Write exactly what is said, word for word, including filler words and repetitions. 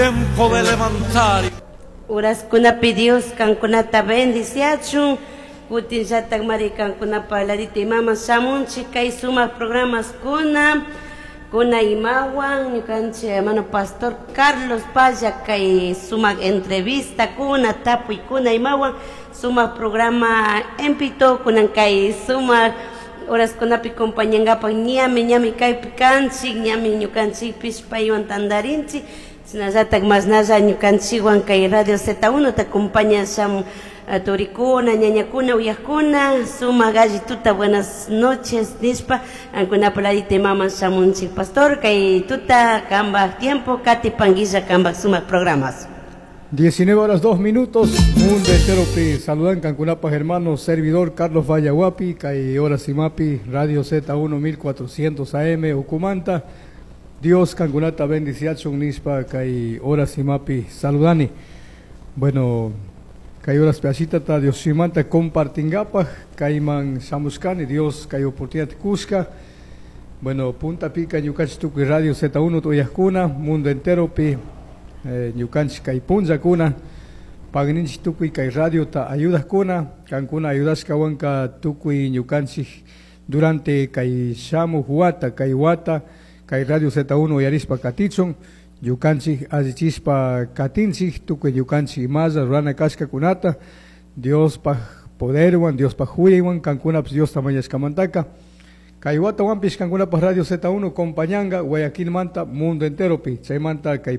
Tiempo de levantar. Horaskunapi Dios kankunata bendiciachun kutinllatak mari kankunapa ladita imama shamunchik kay sumak programas kuna kuna imawan ñukanchik hermano pastor Carlos Paya kay sumak entrevista kuna tapuy kuna imawan sumak programa empito kunan kay sumak horaskunapi compañangapak ñami ñami kaypi kanchik ñami ñukanchikpish paywan tantarinchik shinallatak mashnalla ñukanchikwan kay Radio Z uno ta acompaña shamun turikuna ñañakuna uyakuna sumak alli tuta buenas noches nishpa kankunapa ladita imaman shamunchik pastor kay tuta kambak tiempo katipanguilla kambak sumak programas. diecinueve horas dos minutos, mundo entero pi saludan kankunapaj hermano servidor Carlos Vallahuapi, kay horas imapi, Radio Z uno mil cuatrocientos A M Ucumanta. Dios kankunata bendiciachun nishpa kay horas imapi saludani. Bueno, kay horas piachita ta Dios simanta compartingapaj, kayman shamushkani, Dios kay oportunidad kushka. Bueno, punta pica ñukanchik tukuy Radio Z uno tuyajkuna, mundo entero pi, eh, ñukanchik kay punllakuna, pagninchik tukuy kay radio ta ayudajkuna, kankuna ayudashkawanka tukuy ñukanchik durante kay shamuj wata, kay wata, kay Radio Z uno uyarispa katichun, ñukanchik allichispa katinchik, tukuy ñukanchik imalla rurana kashkakunata, Diospaj poderwan, Diospaj huyaywan, kankunapish Diosta mañashkamantaka. Kay watawanpish kankunapaj Radio Z uno compañanga Guayaquilmanta mundo entero pi, chaymanta kay